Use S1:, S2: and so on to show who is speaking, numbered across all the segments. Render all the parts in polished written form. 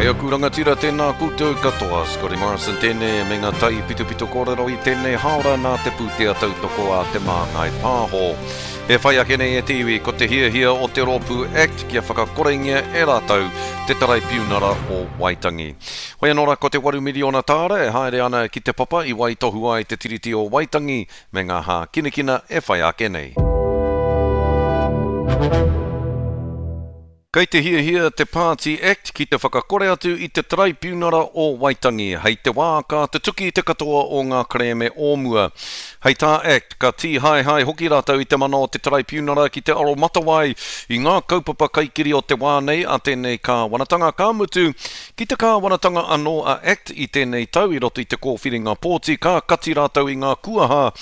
S1: E aku rangatira, tēnā koutou katoa. Scotty Morrison tēnei me ngā taipitopito kōrero i tēnei hāora nā te pūtea tautoko a Te Māngai Pāho. E whai ake nei e te iwi, ko te hiahia o te rōpū act kia whakakorengia e rātou te Taraipiunara o Waitangi. Hoi anō rā, ko te waru miriona tāra e haere ana ki te papa i waitohu ai te Tiriti o Waitangi me ngā hākinakina e whai ake nei. Kei te hiahia te Pāti Act ki te whakakore atu i te Taraipiunara o Waitangi hei te wā ka tutuki te katoa o ngā kerēme o mua. Hei tā Act, ka tīhaehae hoki rātou i te mana o te Taraipiunara ki te aromatawai i ngā kaupapa kaikiri o te wā nei a tēnei kāwanatanga, ka mutu, ki te kāwanatanga anō a Act i tēnei tau i roto i te kōwhiringa pōti ka kati rātou i ngā kuaha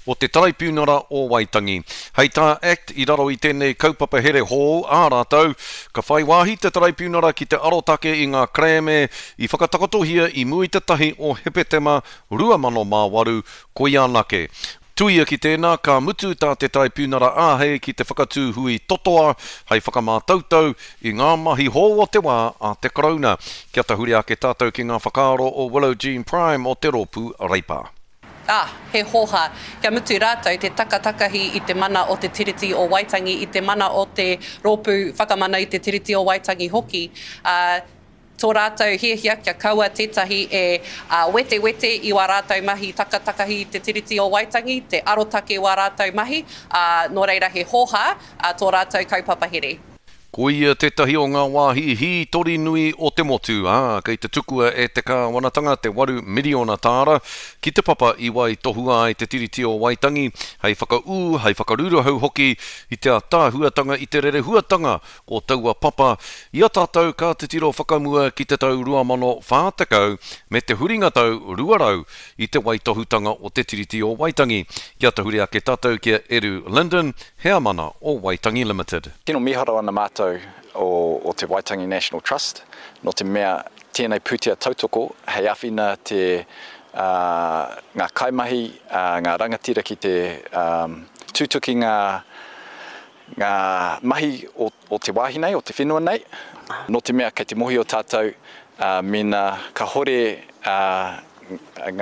S1: o te Taraipiunara o Waitangi. Hei tā Act, i raro i tēnei kaupapa here hou ā rātou, ka whai wāhi te Taraipiunara ki te arotake i ngā kerēme i whakatakotohia i mua i te tahi o Hepetema 2008, koia anake. Tuia ki tēnā, ka mutu tā te Taraipiunara āhei ki te whakatū hui totoa hei whakamātautau i ngā mahi hou o te wā a te Karauna. Kia tahuri ake tātou ki ngā whakaaro o Willow Jean Prime o te Rōpū Reipa.
S2: Ā, he hōhā, kia mutu rātou te takatakahi i te mana o te Tiriti o Waitangi, i te mana o te Rōpū Whakamana i te Tiriti o Waitangi hoki, ā, tō rātou hiahia kia kaua tētahi e wetewete i wā rātou mahi takatakahi i te Tiriti o Waitangi, te arotake wā rātou mahi, ā, nō reira he hōhā tō rātou kaupapa here.
S1: Ko ia tētahi o ngā wāhi hītori nui o te motu, ā, kei te tukua e te kāwanatanga te waru miriona tāra ki te papa i waitohua ai te Tiriti o Waitangi hei whakaū, hei whakaruruhau hoki i te ātaahuatanga i te rerehuatanga o taua papa i a tātou ka titiro whakamua ki te tau 2040 me te huringa tau 200 i te waitohutanga o te Tiriti o Waitangi. Kia tahuri ake tātou ki a Eru Linden, Heamana o Waitangi Limited.
S3: Tino mīharo ana mātou o te Waitangi National Trust, nō te mea tēnei pūtea tautoko hei āwhina te ngā kaimahi, ngā rangatira ki te tutuki ngā ngā mahi o te wāhi nei, o te whenua nei, nō te mea kei te mōhio tātou mēnā kāhore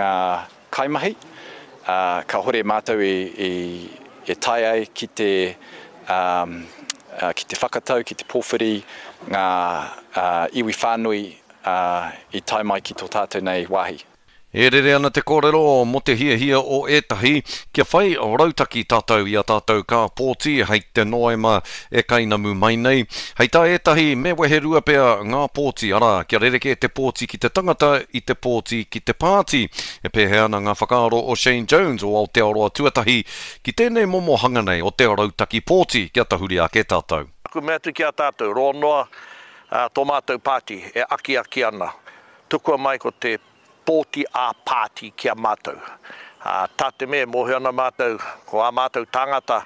S3: ngā kaimahi, ā, kāhore mātou i, e tae ai ki te, ā, ki te whakatau, ki te pōwhiri ngā, ā, iwi whānui, ā, i tae mai ki tō tātou nei wāhi.
S1: E rere ana te kōrero mō te hiahia o ētahi kia whai rautaki tātou i a tātou ka pōti hei te Noema e kainamu mai nei. Hei tā ētahi me weherua pea ngā pōti, arā, kia rerekē te pōti ki te tangata i te pōti ki te pāti. E pēhea ana ngā whakaaro o Shane Jones o Aotearoa Tuatahi ki tēnei momo hanga nei o te rautaki pōti kia tahuri ake tātou?
S4: Aku mea atu ki a tātou, roa noa tō mātou pāti e akiaki ana, tukua mai ko te pōti ā-pāti ki a mātou. Ā, tā te mea e mōhio ana mātou, ko ā mātou tāngata,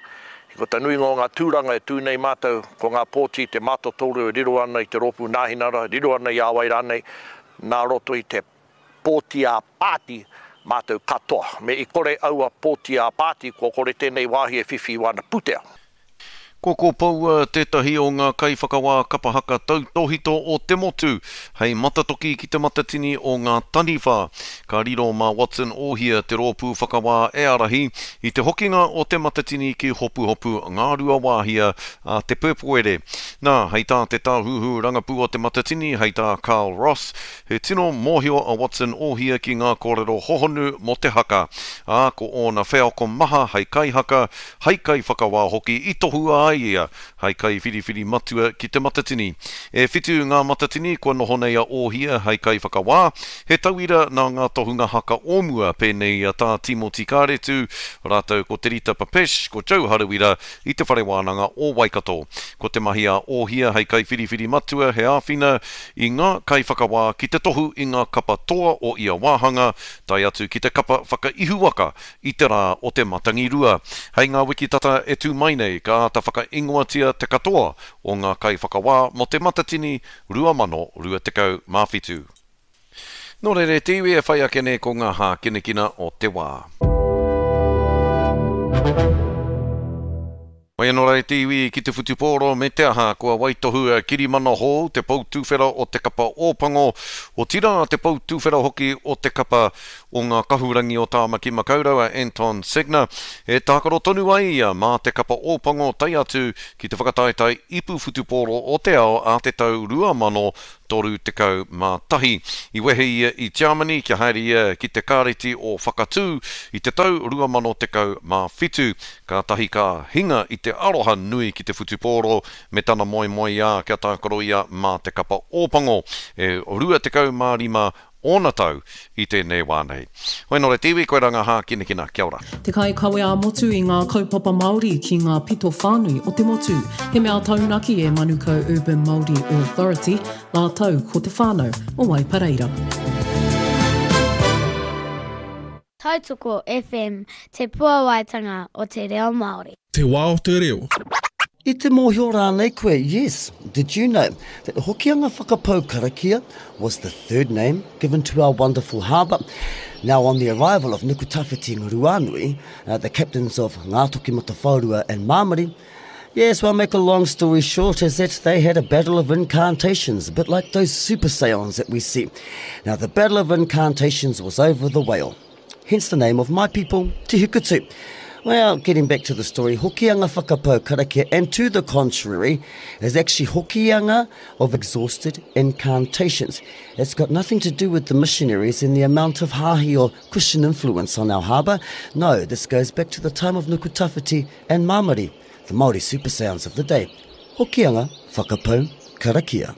S4: ko te nuinga o ngā tūranga e tū nei mātou, ko ngā pōti te mātotoru e riro ana i te Rōpū Nāhinara, riro ana i a wai rānei, nā roto i te pōti ā-pāti mātou katoa. Me i kore aua pōti ā-pāti, kua kore tēnei wāhi e whiwhi i wāna pūtea.
S1: Ko Kopoua tētahi o ngā kaiwhakawā kapa haka tautōhito o te motu, hei matatoki ki te matatini o ngā taniwha. Ka riro mā Watson Ohia te rōpū whakawā e ārahi i te hokinga o te matatini ki Hopuhopu Ngāruawāhia a Te Pēpuere. Nā, hei tā te tāhuhu rangapū o te matatini, hei tā Carl Ross, He tino mōhio a Watson Ohia ki ngā kōrero hohonu mō te haka, ā, ko ōna wheako maha hei kaihaka, hei kaiwhakawā hoki i tohua ai ia hei kaiwhiriwhiri matua ki Te Matatini. E whitu ngā matatini kua noho nei a Ohia hei kaiwhakawā, he tauira nā ngā tohunga haka o mua pēnei i a Tā Tīmoti Kāretu rātou ko Te Rita Papesch, ko Joe Harawira i Te Whare Wānanga o Waikato. Ko te mahi a Ohia hei kaiwhiriwhiri matua he āwhina i ngā kaiwhakawā ki te tohu i ngā kapa toa o ia wāhanga, tae atu ki te kapa whakaihuwaka i te rā o te Matangirua. Hei ngā wiki tata e tū mai nei, ka āta whakaingoatia te katoa o ngā kaiwhakawā mō Te Matatini 2027. Nō reira e te iwi e whai ake nei ko ngā hākinakina o te wā. Mai anō rā e te iwi ki te whutupōro me te aha, kua waitohu a Kirimana Hou, te pou tuwhera o te kapa Ōpango, otirā te pou tuwhera hoki o te kapa o ngā kahurangi o Tāmaki Makaurau a Anton Segner, e tākaro tonu ai ia mā te kapa Ōpango tae atu ki te whakataetae ipu whutupōro o te ao a te tau 2031. I wehe ia i Tiamani kia haere ia ki te Kāreti o Whakatū i te tau 2017. Kātahi ka hinga i te aroha nui ki te whutupōro me tana moemoeā kia tākaro ia mā te kapa Ōpango. E 25 ōna tau i tēnei wā nei. Hoi nō reira te iwi, koirā ngā hākinakina. Kia ora.
S5: Te kaikawe ā-motu i ngā kaupapa Māori ki ngā pito whānui o te motu. He mea taunaki e Manukau Urban Māori Authority rātou ko te whānau o Waipareira.
S6: Tautoko FM, te puawaitanga o te reo Māori.
S7: Te wā o te reo.
S8: I te mōhio rānei koe, yes, did you know that Hokianga Whakapau Karakia was the third name given to our wonderful harbour? Now on the arrival of Nukutawhiti and Ruanui, uh, the captains of Ngātokimatawhaorua and Māmari, Yes, well, make a long story short is that they had a battle of incantations, a bit like those super seance that we see. Now, the battle of incantations was over the whale, hence the name of my people, Te Hikutu. Well, getting back to the story, Hokianga Whakapau Karakia, and to the contrary, is actually Hokianga of exhausted incantations. It's got nothing to do with the missionaries and the amount of hahi or Christian influence on our harbour. No, this goes back to the time of Nukutawhiti and Mamari, the Māori super sounds of the day. Hokianga, whakapau, karakia.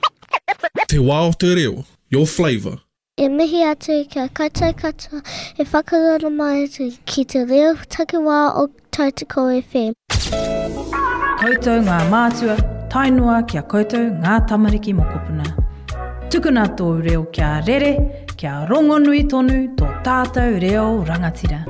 S7: Te wā o te reo, your flavour.
S6: E mihi atu ki a koutou katoa e whakaroro mai atu ki te reo takiwā o Tautoko FM.
S9: Koutou ngā mātua, tae noa ki a koutou ngā tamariki mokopuna. Tukuna tōu reo kia rere, kia rongonui tonu tō tātou reo rangatira.